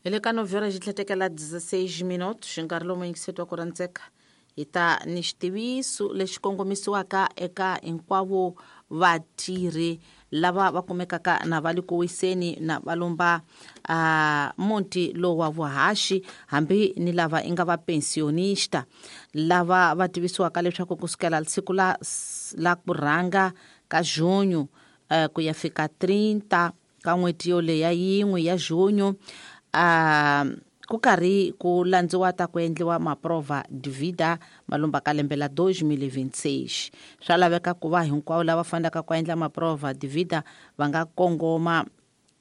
Hi le ka novhera xi tlhetekela 16 minutos nkarhi lowu yingiseti wa ku rhandzeka hi ta ni xitiviso lexi kongomisiwaka eka hinkwavo vatirhi lava va kumekaka na va le ku wiseni na va lomba muti lowu wa vuhaxi hambi ni lava i nga va pensionista lava va tivisiwaka leswaku kusukela siku la ku rhanga ka junho ku ya fika 30 ka n'hweti yoleya yin'we ya junho ku karhi ku landziwa ta ku endliwa maprova divida malumba ka lembe la 2026. Swa laveka ku va hinkwavo lava fanelaka ku endla maprova divida va nga kongoma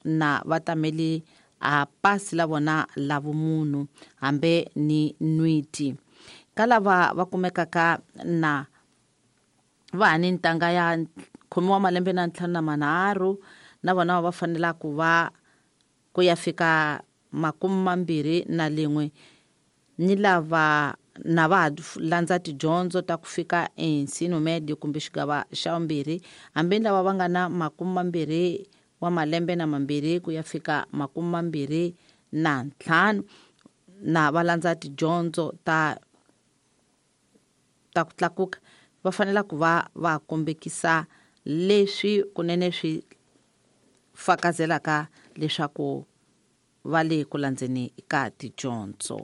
na vatameli a pasi la vona la vumunhu hambi ni nwiti. Ka lava va kumekaka na va ha ni ntanga ya 15 malembe na 53 na vona va fanela ku va ku ya fika 21 ni lava na va landza tidyondzo ta ku fika ensino médio kumbe xigava xa vumbirhi hambi lava va nga na 20 wa malembe na 2 ku ya fika 25 na va landza tidyondzo ta ku tlakuka va fanela ku va va kombekisa leswi kunene swi fakazelaka leswaku va le ku landzeni ka tidyondzo.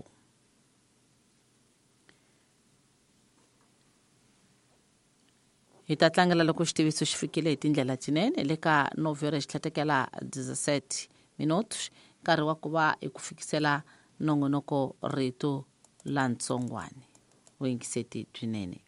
Hi ta tlangela loko xitiviso xi fikile hi tindlela tinene le ka novhera xi tlhatekela 17 minutos nkarhi wa ku va hi ku fikisela nongonoko rito la ntsongwane vuyingiseti byinene.